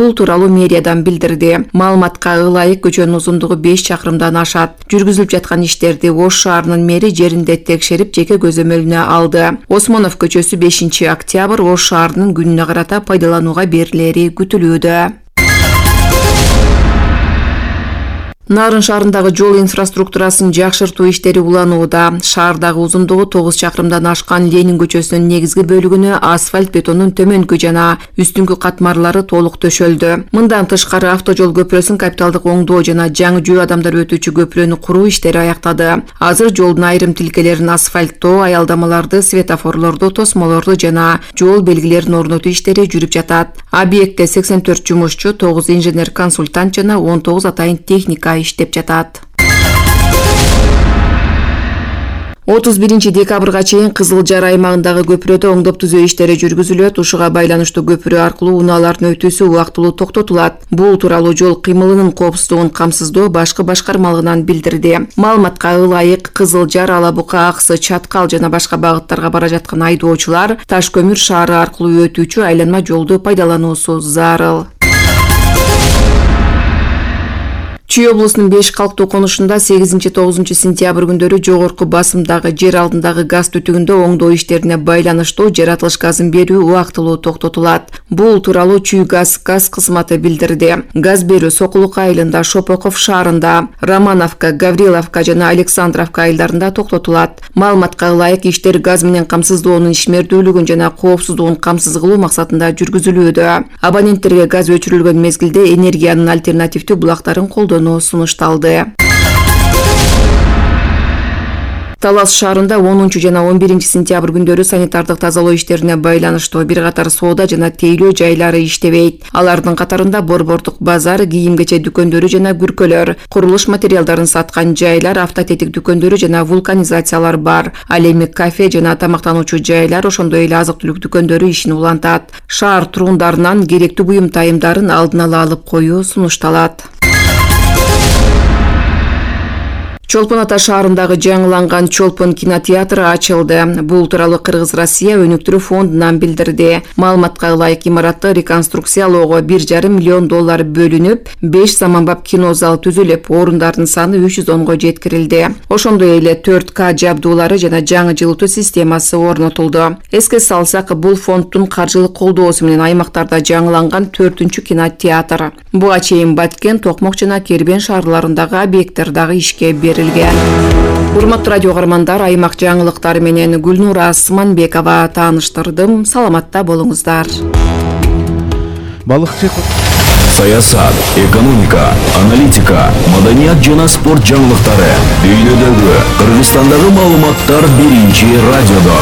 Бул тууралуу мэриядан билдирди. Маалыматка ылайык көчөнүн узундугу 5 чакырымдан ашат. Жүргүзүлүп жаткан иштерди Ош шаарынын мэри жеринде текшерип, жеке көзөмөлүнө алды. Осмонов көчөсү 5-октябрь Ош шаарынын күнүнө карата пайдаланууга берилери күтүлүүдө. Нарын шаарындагы жол инфраструктурасын жакшыртуу иштери уланууда. Шаардагы узундугу 9 чакырымдан ашкан Ленин көчөсүнүн негизги бөлүгүнө асфальт бетондун төмөнкү жана үстүңкү катмарлары толук төшөлдү. Мындан тышкары автожол көпүрөсүн капиталдык оңдоо жана жаңы жөө адамдар өтүүчү көпүрөнү куруу иштери аяктады. Азыр жолдун айрым тилкелерин асфальттоо, аялдамаларды, светофорлорду, тосмолорду жана жол белгилерин орнотуу иштери жүрүп жатат. Объектте 84 жумушчу, 9 инженер-консультант жана 19 атайын техника иштеп жатат. 31 декабрга чейин Кызыл Жар аймагындагы көпүрөдө оңдоп түзөө иштери жүргүзүлөт. Ушуга байланыштуу көпүрө аркылуу унаалардын өтүүсү убактылуу токтотулат. Бул тууралуу жол кыймылынын коопсуздугун камсыздоо башкы башкармалыгынан билдирди. Маалыматка ылайык, Кызыл Жар, Ала Бука, Аксы, Чаткал жана башка багыттарга бара жаткан айдоочулар Таш көмүр шаары аркылуу өтүүчү айланма жолду пайдалануусу зарыл. Чүй облусунун 5 калктуу конушунда 8-9 сентябрь күндөрү жогорку басымдагы жер алдындагы газ түтүгүндө оңдоо иштерине байланыштуу жаратылыш газын берүү убактылуу токтотулат. Бул тууралуу Чүй газ кызматы билдирди. Газ берүү Сокулук айылында, Шопоков шаарында, Романовка, Гавриловка жана Александровка айылдарында токтотулат. Маалыматка ылайык, иштер газ менен камсыздоонун ишмердүүлүгүн жана коопсуздугун камсыз кылуу максатында жүргүзүлүүдө. Абоненттерге газ өчүрүлгөн мезгилде энергиянын альтернативдүү булактарын колдонуу сунушталды. Талас шаарында 10 жана 11 сентябрь күндөрү санитардык тазалоо иштерине байланыштуу бир катар соода жана тейлөө жайлары иштебейт. Алардын катарында борбордук базар, кийим-кече дүкөндөрү жана күркөлөр, курулуш материалдарын саткан жайлар, автотетик дүкөндөрү жана вулканизациялар бар. Ал эми кафе жана тамактануучу жайлар, ошондой эле азык-түлүк дүкөндөрү ишин улантат. Шаар тургундарынан керектүү буюм тайымдарын алдын ала алып коюу сунушталат. Чолпон Ата шаарындагы жаңыланган Чолпон кинотеатры ачылды. Бул тууралуу Кыргыз-Россия өнүктүрүү фондунан билдирди. Маалыматка ылайык, имаратты реконструкциялоого $1,5 миллион бөлүнүп, 5 заманбап кинозал түзүлүп, орундардын саны 310го жеткирилди. Ошондой эле 4К жабдуулары жана жаңы жылытуу системасы орнотулду. Эске салсак, бул фонддун каржылык колдоосу менен аймактарда жаңыланган 4-күнчү кинотеатр. Буга чейин Баткен, Токмок жана Кербен шаарларындагы объекттер дагы ишке берилди. Урматтуу радио каармандар, аймак жаңылыктары менен Гүлнура Асманбекова тааныштырдым. Саламатта болуңуздар. Балыкчы саясат, экономика, аналитика, маданият жана спорт жаңылыктары дүйнөдөгү, Кыргызстандагы маалыматтар биринчи радиодо.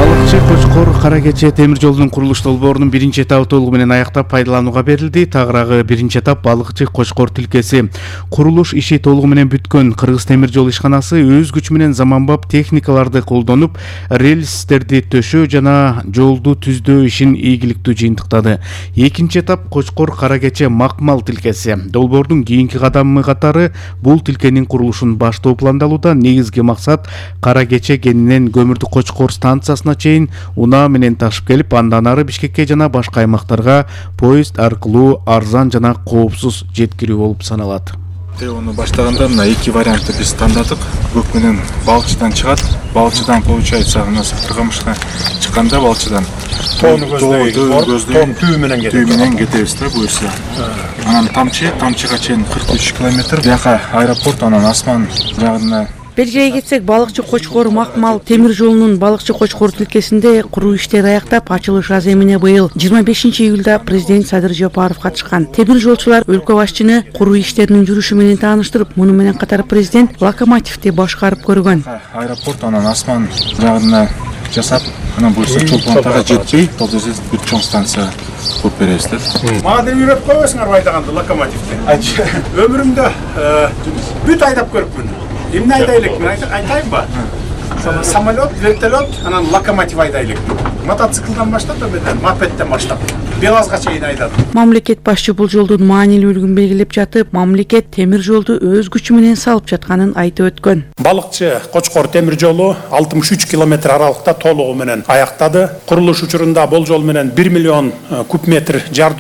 Балыкчы Кочкор Кара Кече темир жолдун курулуш долбоорунун биринчи этабы толугу менен аяктап пайдаланууга берилди. Тагыраагы биринчи этап Балыкчы Кочкор тилкеси. Курулуш иши толугу менен бүткөн. Кыргыз темир жол ишканасы өз күчү менен заманбап техникаларды колдонуп, рельстерди төшөө жана жолду түздөө ишин ийгиликтүү жыйынтыктады. Экинчи этап Кочкор Кара Кече Макмал тилкеси. Долбоордун кийинки кадамы катары бул тилкенин курулушун баштоо пландалууда. Негизги максат Кара Кече кенинен көмүрдү Кочкор станциясына чейин унаа менен ташып келип, андан ары Бишкекке жана башка аймактарга поезд аркылуу арзан жана коопсуз жеткирүү болуп саналат. Оны баштаганда мына эки вариантты биз тандадык. Көк менен Балчыдан чыгат. Балчыдан получается нас Кыргызстанга чыкканда Балчыдан тоону түү менен кетебиз да буюрса. Анан тамчыга чейин 43 километр. Бияка аэропорт, анан асман жагына. Бергеге кетсек, Балыкчы Кочкор Макмал темир жолунун Балыкчы Кочкор тилкесинде куруу иштери аяктап, ачылыш аземине быйыл 25 июлда президент Садыр Жапаров катышкан. Темир жолчулар өлкө башчыны куруу иштеринин жүрүшү менен тааныштырып, муну менен катар президент локомотивди башкарып көргөн. Аэропорт, анан асман жагына жасап, анан буюрса Чолпон Атага жетпей, бул жерде бүт чоң станция куруп беребиз да. Мага да үйрөтүп койбойсуңарбы айдаганды локомотивди? Өмүрүмдө бүт айдап көрүпмүн. Эмне айдайлык? Мен айтайынбы? Самолет, вертолет, анан локомотив айдайлык. Мотоциклдан баштап, мопедден баштап, БелАЗга чейин айдадым. Мамлекет башчы бул жолдун маанилүүлүгүн белгилеп жатып, мамлекет темир жолду өз күчү менен салып жатканын айтып өткөн. Балыкчы Кочкор темир жолу 63 километр аралыкта толугу менен аяктады. Курулуш учурунда болжол менен 1 миллион куб метр жар